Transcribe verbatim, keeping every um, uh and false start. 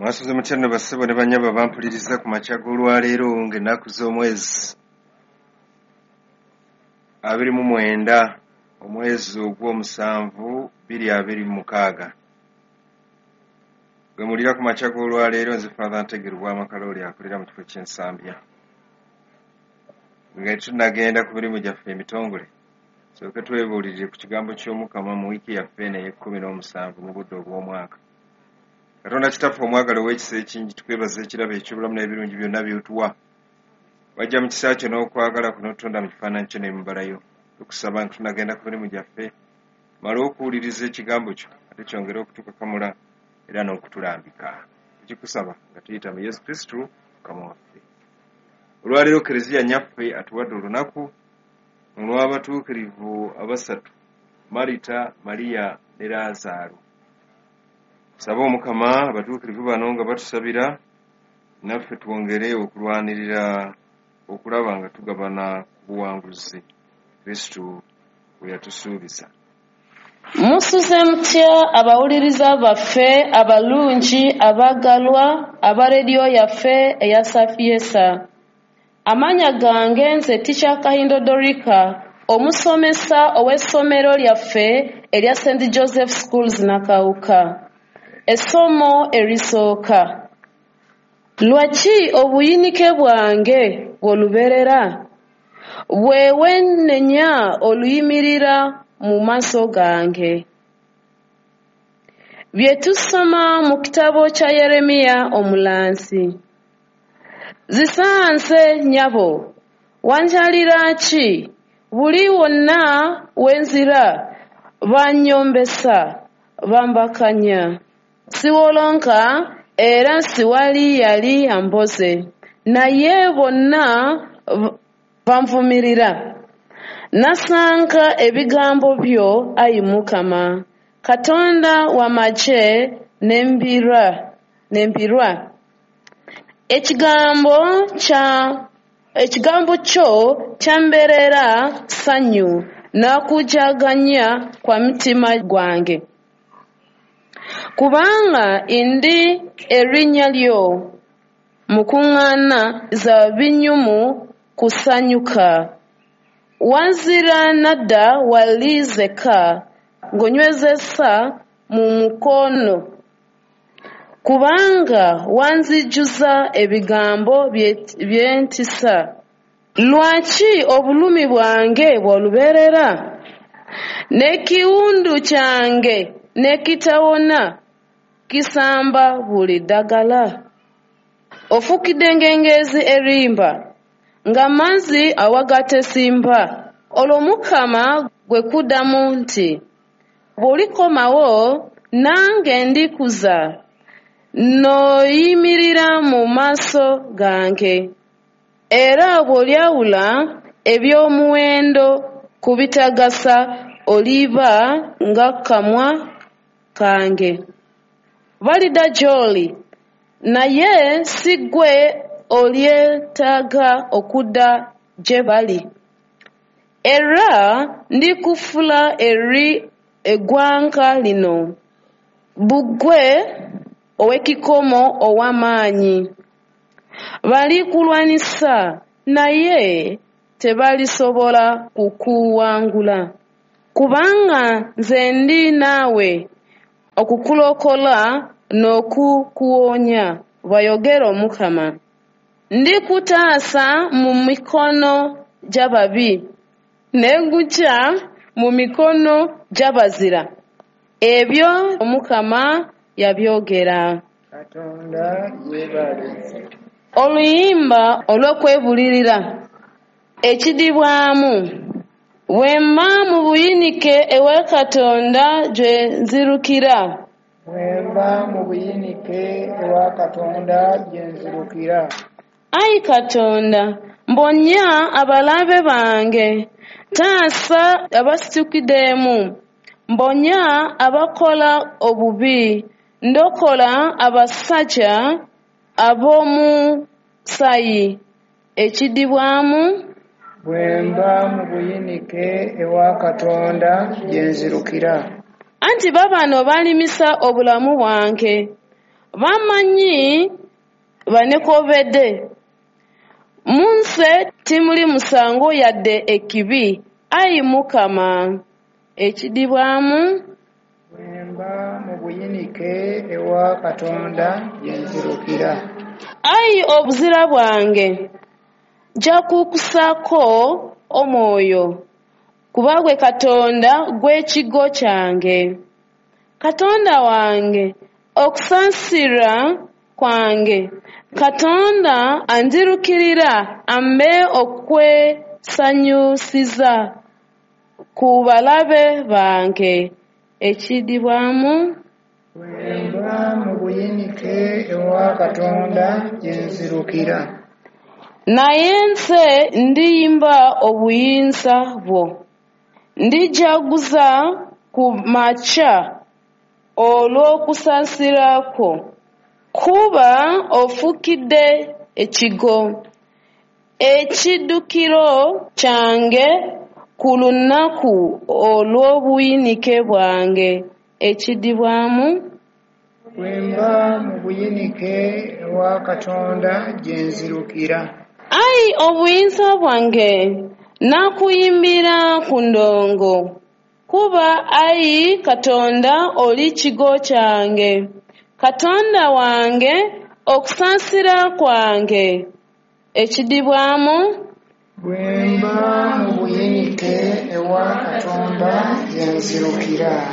Mwasuze mutya nno bassebo ne bannyabo abampuliriza ku makya g'olwaleero ng'ennaku z'omwezi abiri mu mwenda omwezi ogw'omusanvu bbiri abiri mu mukaaga. Gwe mulira ku makya g'olwaleero nze Father Ntegeru Bwamakalooli akulira mu kifo ky'Ensambya. Nga tunnagenda ku mirimu gyaffe emitongole, tusooke twebuulirire ku kigambo ky'Omukama mu wiiki yaffe eno ey'ekkumi n'omusanvu mu budde obw'omwaka. Katonda Kitaffe omwagala ow'ekisa ekingi, tukwebaza ekirabo eky'obulamu n'ebirungi byonna by'otuwa. Wajja mu kisa kyo n'okwagala kuno otutonda mu kifaananyi kyo n'emibala yo. Tukusaba nga tunagenda ku mirimu gyaffe, tumale okuwuliriza ekigambo kyo ate kyongere okutukakamula era n'okutulambika. Tukikusaba nga tuyita mu Yesu Kristo Mukama waffe. Olwaleero Kereziya nnyaffe atuwadde olunaku olw'abatuukirivu abasatu, Marita, Mariya ne Laazaalo. Tusabe Omukama abatuukirivu bano nga batusabira naffe twongere okulwanirira okulaba nga tugabana ku buwanguzi Kristo bwe yatusuubiza. Musuze mutya abawuliriza baffe abalungi abaagalwa aba rediyo yaffe eya Sapientia. Amannya gange nze Teacher Kahindo Dorika, omusomesa ow'essomero lyaffe erya Saint Joseph Schools Nakawuka. Essomo erisooka. Lwaki obuyinike bwange bw'olubeerera? Bwe wennenya oluyimirira mu maaso gange. Bye tusoma mu kitabo kya Yeremiya omulanzi. Zisanze nnyabo, wanjalira ki? Buli wonna we nzira bannyombesa, bambakanya. Siwolonka era siwali yali amboze, naye bonna banvumirira. Nasanka ebigambo byo, ayi Mukama, Katonda w'amagye ne mbirwa. Ekigambo kya ekigambo kyo kyambeerera ssanyu n'okujaganya kwa mutima gwange. Kubanga ndi erinnya lyo mu kuŋŋaana za binyumu kusanyuka. Wazira nadda wali nzekka ng'onywezesa mu mukono. Kubanga wanzijuza ebigambo by'entiisa. Lwaki obulumi bwange bw'olubeerera? N'ekiwundu kyange ne kitawona kisamba buli ddagala. Ofukidde ng'engezi erimba, ng'amazzi awagatesimba. Olwo Mukama gwe kuddamu nti, bw'olikomawo nange ndikuza, n'oyimirira mu maaso gange. Era bw'olyawula eby'omuwendo ku bitagasa oliba ng'akamwa kange. Balidda gy'oli, naye si ggwe olyetaaga okudda gye bali. Era ndikufuula eri eggwanga lino, bbugwe ow'ekikomo ow'amaanyi. Balikulwanyisa, naye tebalisobola kukuwangula. Kubanga nze ndi naawe okukulokola n'okukuwonya, bw'ayogera Omukama. Ndikutaasa mu mikono gy'ababi, ne nkuggya mu mikono gy'abazira. Ebyo Omukama yabyogera. Katonda yeebale. Oluyimba olw'okwebulirira ekiddibwamu. Bwe mba mu buyinike ewa Katonda gye nzirukira. Bwe mba mu buyinike ewa Katonda gye nzirukira. Ayi Katonda, mponya abalabe bange, taasa abasitukiddemu, mponya abakola obubi, ndokola abasajja ab'omusaayi. Ekiddibwamu. Bwe mba mu buyinike ewa Katonda gye nzirukira. Anti baabano balimisa obulamu bwange, Bamanyi banekobedde. Mu nze timuli musango yadde ekibi, ayi Mukama. Ekidibwamu. Bwe mba mu buyinike ewa Katonda gye nzirukira. Ayi obuzira bwange, nja kukussaako omwoyo, kuba ggwe Katonda gw'ekigo kyange. Katonda wange, okusaasira kwange, Katonda anzirukirira ampe okwesanyusiza ku balabe bange. Ekidibwamu. Bwe mba mu buyinike ewa Katonda gye nzirukira. Naye nze ndiyimba obuyinza bwo. Ndijaguza ku makya olw'okusaasira kwo. Kuba onfukidde ekigo, ekiddukiro kyange ku lunaku olw'obuyinike bwange. Ekidibwamu. Bwe mba mu buyinike ewa Katonda gye nzirukira. Ayi obuyinza bwange, nnakuyimbira ku ndongo, kuba ayi Katonda oli kigo kyange. Katonda wange, okusaasira kwange. Ekidibwamu. Bwe mba mu buyinike ewa Katonda gye nzirukira.